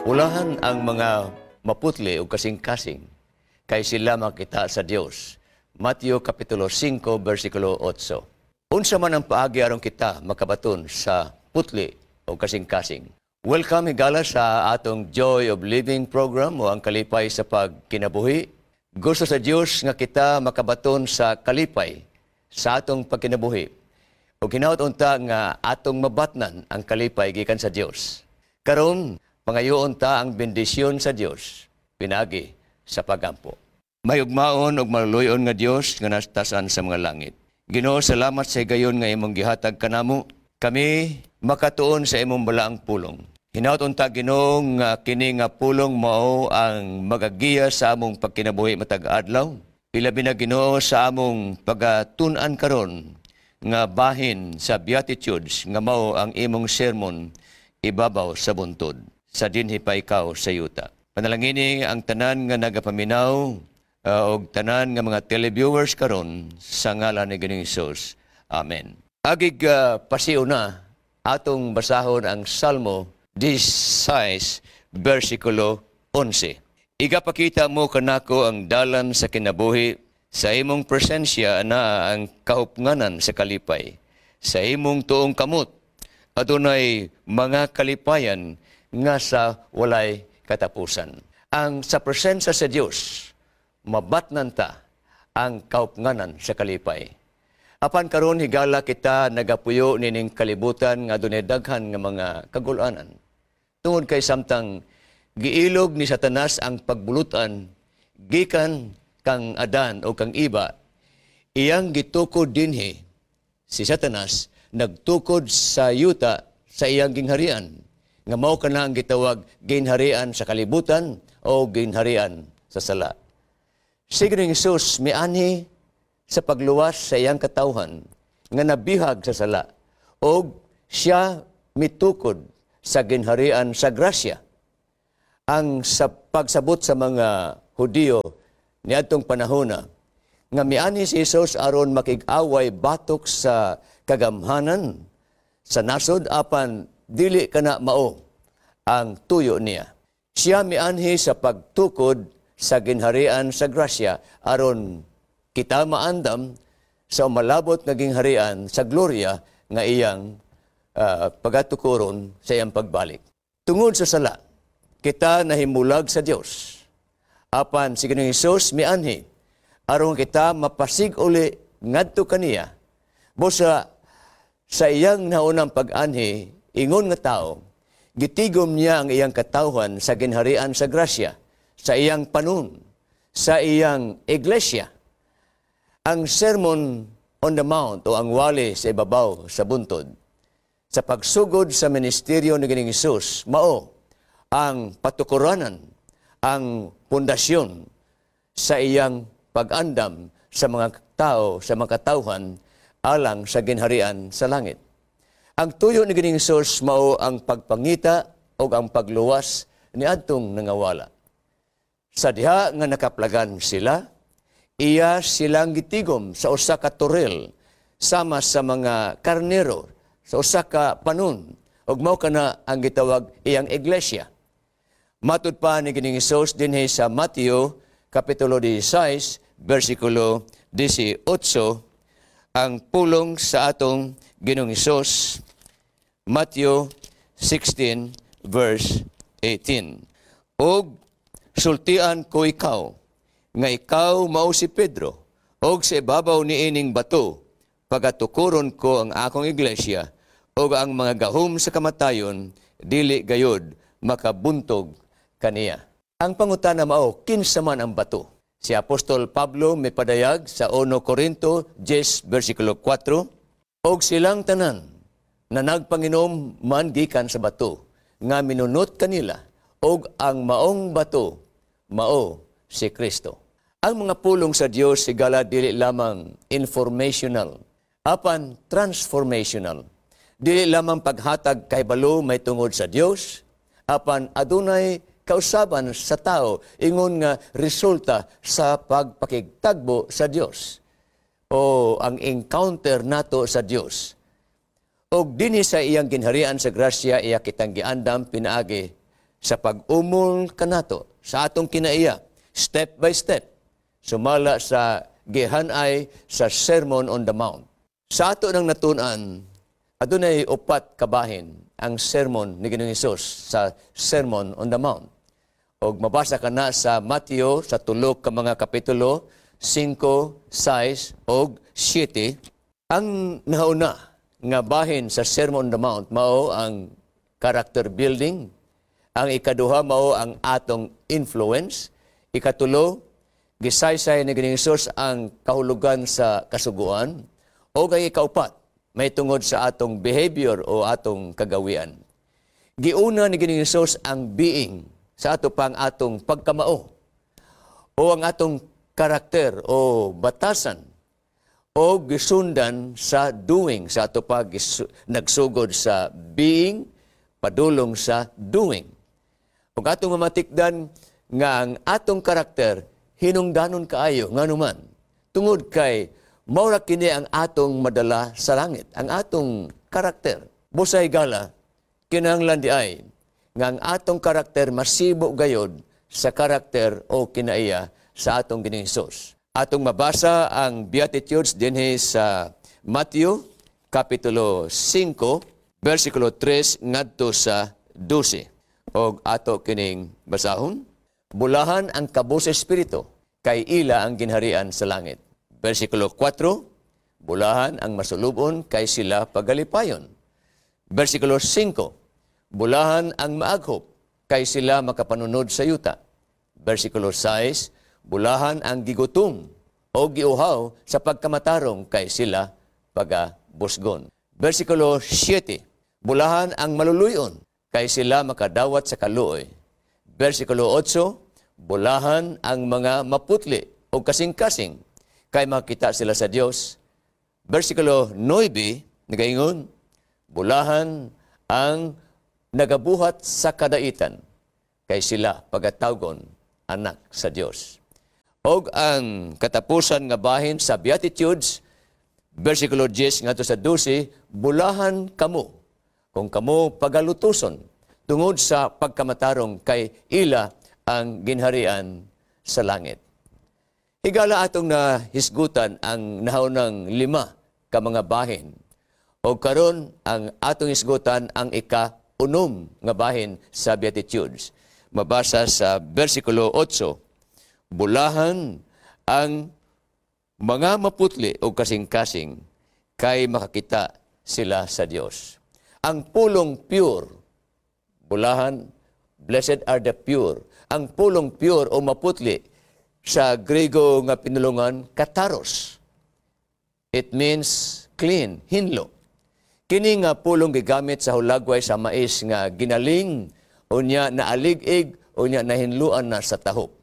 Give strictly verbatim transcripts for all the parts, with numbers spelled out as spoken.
Ulahan ang mga maputli o kasing-kasing kay sila makita sa Dios. Mateo Kapitulo singko versikulo otso. Unsa man ang paagi aron kita makabaton sa putli o kasing-kasing? Welcome, higala, sa atong Joy of Living program o ang kalipay sa pagkinabuhi. Gusto sa Dios nga kita makabaton sa kalipay sa atong pagkinabuhi. O hinaot unta nga atong mabatnan ang kalipay gikan sa Dios. Karon, pangayoon ta ang bendisyon sa Dios pinaagi sa pagampo. Mahigugmaon ug maluluy-on nga Dios nga nasa taas-an sa mga langit. Ginoo, salamat sa higayon nga imong gihatag kanamo. Kami makatuon sa imong balaang pulong. Hinaot unta, Ginoo, nga kini nga pulong mao ang magagiya sa among pagkinabuhi matag adlaw. Ilabi na, Ginoo, sa among pagatun-an karon nga bahin sa Beatitudes nga mao ang imong sermon ibabaw sa buntod sa "Dinhi pa ikaw sa yuta." Panalangini ang tanan nga nagapaminaw uh, og tanan nga mga televiewers karon sa ngalan ni Ginoong Hesus. Amen. Agig uh, pasiuna, atong basahon ang Salmo labing-sais versikulo onse. Igapakita mo kanako ang dalan sa kinabuhi, sa imong presensya anaa ang kahupnganan sa kalipay. Sa imong tuong kamot adunay mga kalipayan nga sa walay katapusan. Ang sa presensya sa Dios, mabatnan ta ang kaupnganan sa kalipay. Apan karon, higala, kita nagapuyo nining kalibutan nga adunay daghan nga mga kagulanan. Tungod kay samtang giilog ni Satanas ang pagbulutan gikan kang Adan o kang Eva, iyang gitukod dinhi si Satanas, nagtukod sa yuta sa iyang gingharian nga mao kana ang gitawag ginharian sa kalibutan o ginharian sa sala. Si Ginoong Hesus mianhi sa pagluwas sa iyang katawhan nga nabihag sa sala og siya mitukod sa ginharian sa grasya. Ang sa pagsabot sa mga Hudiyo niadtong panahona nga mianhi si Jesus aron makig-away batok sa kagamhanan sa nasod, apan dili kana mao ang tuyo niya. Siya mianhi sa pagtukod sa ginharian sa grasya aron kita maandam sa umalabot nga gingharian sa gloria nga iyang uh, pagatukuron sa iyang pagbalik. Tungod sa sala, kita nahimulag sa Dios. Apan si Ginoong Hesus mianhi aron kita mapasig-uli ngadto kaniya. Busa sa iyang naunang pag-anhi ingon nga tao, gitigom niya ang iyang katawhan sa ginharian sa grasya, sa iyang panon, sa iyang iglesia. Ang Sermon on the Mount o ang wali sa ibabaw sa buntod, sa pagsugod sa ministeryo ni Ginoong Hesus, mao ang patukuranan, ang pundasyon sa iyang pag-andam sa mga tao, sa mga katawhan, alang sa ginharian sa langit. Ang tuyo ni Ginoong Hesus mao ang pagpangita o ang pagluwas ni adtong nangawala. Sa diha nga nakaplagan sila, iya silang gitigom sa usa ka toril sama sa mga karnero sa usa ka panon ug mao kana ang gitawag iyang iglesia. Matud pa ni Ginoong Hesus dinhi sa Mateo Kapitulo labing-sais versikulo labing-otso ang pulong sa atong Ginoong Hesus, Matthew sixteen verse eighteen. "Og sultian ko ikaw nga ikaw mao si Pedro, og sa ibabaw niining bato pagatukuron ko ang akong iglesia, ug ang mga gahom sa kamatayon dili gayod makabuntog kaniya." Ang pangutana mao, kinsa man ang bato? Si Apostol Pablo may padayag sa Unong Korinto diyes versikulo kwatro, "Og silang tanan na nagpanginom man gikan sa bato nga minunot kanila, og ang maong bato mao si Kristo." Ang mga pulong sa Dios, higala, dili lamang informational apan transformational. Dili lamang paghatag kahibalo may tungod sa Dios apan adunay kausaban sa tao ingon nga resulta sa pagpakigtagbo sa Dios o ang encounter nato sa Dios. Og dinhi sa iyang ginharian sa grasya, iya kitang giandam pinaagi Sa pag-umol kanato sa atong kinaiya, step by step, sumala sa gihanay sa Sermon on the Mount. Sa ato nang natun-an, adunay upat kabahin ang sermon ni Ginoong Hesus sa Sermon on the Mount. Og mabasa ka na sa Mateo sa tulo ka mga kapitulo, singko, sais og siyete. Ang nauna nga bahin sa Sermon on the Mount mao ang character building. Ang ikaduha mao ang atong influence. Ikatulo, gisaysay ni Ginoong Hesus ang kahulugan sa kasuguan. O ang ikaupat, may tungod sa atong behavior o atong kagawian. Giuna ni Ginoong Hesus ang being sa ato pang atong pagkamao o ang atong karakter o batasan o gisundan sa doing sa ato pa gisu- nagsugod sa being, padulong sa doing. Ug atong mamatikdan nga ang atong karakter hinungdanon kaayo, nganuman tungod kay mao ra kini ang atong madala sa langit, ang atong karakter. Busay gala, kinahanglan di ay nga ang atong karakter masibo gayod sa karakter o kinaiya sa atong Ginoong Hesus. Atong mabasa ang Beatitudes dinhi sa Matthew Kapitulo singko, versikulo tres ngadto sa dose. Og ato kining basahon. Bulahan ang kabos espiritu, kay ila ang ginharian sa langit. Versikulo kwatro, bulahan ang masulubon, kay sila pagalipayon. Versikulo singko, bulahan ang maaghop, kay sila makapanunod sa yuta. Versikulo sais, bulahan ang gigutom o giuhaw sa pagkamatarong, kay sila pagabusgon. Versikulo siyete, bulahan ang maluluyon, kay sila makadawat sa kaluoy. Versikulo otso, bulahan ang mga maputli o kasing-kasing, kay makita sila sa Dios. Versikulo nuebe, nagaingon, bulahan ang nagabuhat sa kadaitan, kay sila pagatawgon anak sa Dios. Og ang katapusan nga bahin sa Beatitudes, versikulo diyes ngadto sa dose, bulahan kamo kung kamo pagalutuson tungod sa pagkamatarong, kay ila ang ginharian sa langit. Higala, atong nahisgutan ang nahaunang lima ka mga bahin. O karon ang atong hisgutan ang ika-unom nga bahin sa Beatitudes. Mabasa sa versikulo otso, bulahan ang mga maputli o kasing-kasing, kay makakita sila sa Dios. Ang pulong pure, bulahan, blessed are the pure. Ang pulong pure o maputli sa Grego nga pinulungan, katharos. It means clean, hinlo. Kini nga pulong gigamit sa hulagway sa mais nga ginaling, unya naalig-ig, unya nahinluan na sa tahop.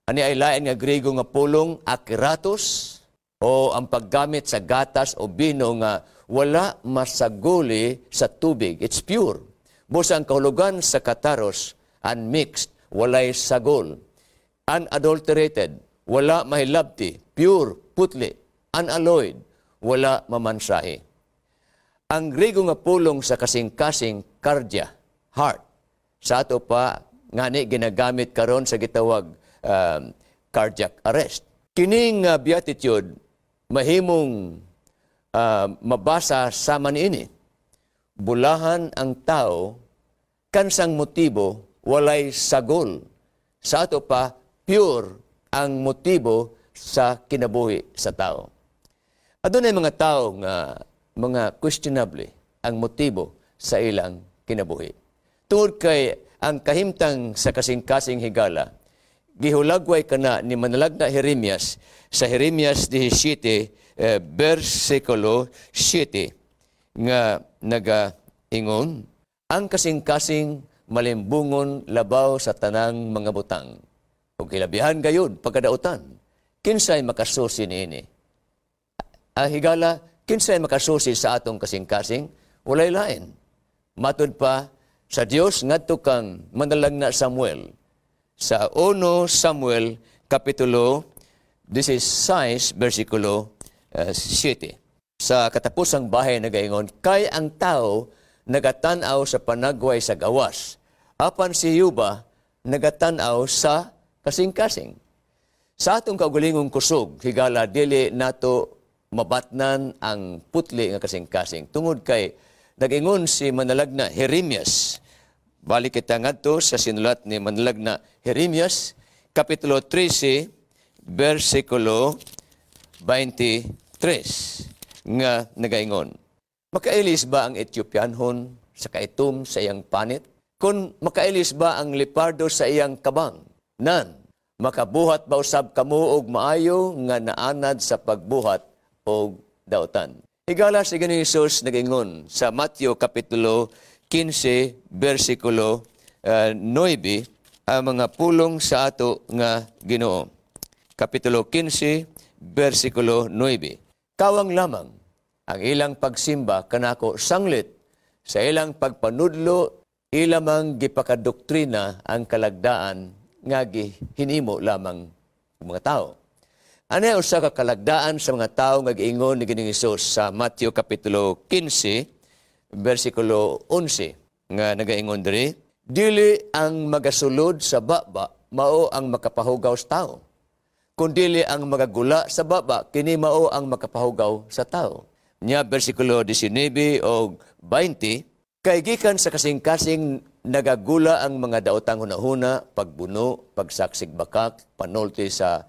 Ani ay lain nga Grego nga pulong, akeratos, o ang paggamit sa gatas o bino nga wala masaguli sa tubig. It's pure. Busa ang kahulugan sa katharos, unmixed, walay sagol. Unadulterated, wala mahilabti, pure, putli, unalloyed, wala mamansahi. Ang Grego nga pulong sa kasing-kasing, kardia, heart. Sa ato pa, ngani ginagamit karon sa gitawag um, cardiac arrest. Kining uh, beatitude mahimong uh, mabasa sama niini. Bulahan ang tao kansang motibo walay sagol. Sa ato pa, pure ang motibo sa kinabuhi sa tao. Adunay mga tao nga mga questionable ang motibo sa ilang kinabuhi. Tungod kay ang kahimtang sa kasing-kasing, higala, gihulagway kana ni manalagna Jeremias sa Jeremias labing-siyam eh, versikulo siyete nga nagaingon, "Ang kasing-kasing malimbungon labaw sa tanang mga butang ug hilabihan gayud pagkadautan. Kinsay makasusi niini?" Ah, higala, kinsay makasusi sa atong kasing-kasing? Walay lain. Matud pa sa Dios ngadto kang manalagna Samuel. Sa uno Samuel Kapitulo labing-sais versikulo uh, siyete. Sa katapusang bahin nagaingon, "Kay ang tao nagatan-aw sa panagway sa gawas, Apan si Jehova nagatan-aw sa kasing-kasing. Sa atong kaugalingong kusog, higala, dili nato mabatnan ang putli nga kasing-kasing. Tungod kay nagingon si Manalagna Jeremias. Balik kita ngadto sa sinulat ni Manalagna Jeremias, Kapitulo trese, versikulo beinte tres, nga nagaingon: "Makailis ba ang Etiopianhon sa kaitom sa iyang panit? Kung makailis ba ang leopardo sa iyang kabang? Nan, makabuhat ba usab kamo og maayo nga naanad sa pagbuhat og dautan?" Higala, si Ginoong Hesus nagingon sa Mateo Kapitulo kinse versikulo uh, nuebe ang mga pulong sa ato nga Ginoo. Kapitulo kinse versikulo nuebe. "Kawang lamang ang ilang pagsimba kanako, sanglit sa ilang pagpanudlo ilamang gipakadoktrina ang kalagdaan nga gihinimo lamang mga tao." Ano usa ka kalagdaan sa mga tao nga giingon ni Ginoong Hesus sa Mateo Kapitulo kinse versikulo onse nga nagaingon diri: "Dili ang magasulod sa baba mao ang makapahugaw sa tao, kundili ang magagula sa baba, kini mao ang makapahugaw sa tao." Nya versikulo disnaybe o beinte, "Kay gikan sa kasing-kasing nagagula ang mga daotang hunahuna, pagbuno, pagsaksig bakak, panulti sa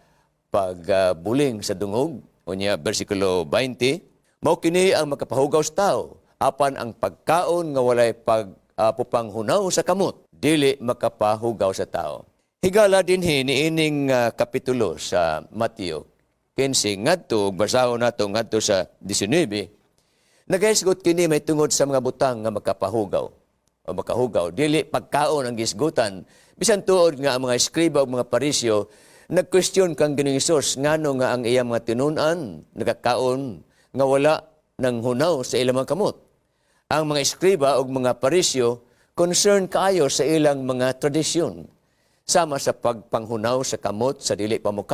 pagbuling sa dungog." Unya versikulo beinte, "Mao kini ang makapahugaw sa tao, apan ang pagkaon nga walay pag uh, pupanghunaw sa kamot dili makapahugaw sa tao." Higala, dinhi niining uh, kapitulo sa Mateo kinse ngadto ug basahon nato ngadto sa disnaybe, nagahisgot kini may tungod sa mga butang nga makapahugaw o makahugaw. Dili pagkaon ang gisgutan, bisan tuod nga ang mga eskriba ug mga Pariseo nag-question kang Ginoong Hesus ngano nga ang iyang mga tinun-an nagakaon nga wala ng hunaw sa ilang mga kamot. Ang mga eskriba ug mga Pariseo concern kaayo sa ilang mga tradisyon sama sa pagpanghunaw sa kamot sa dili pa.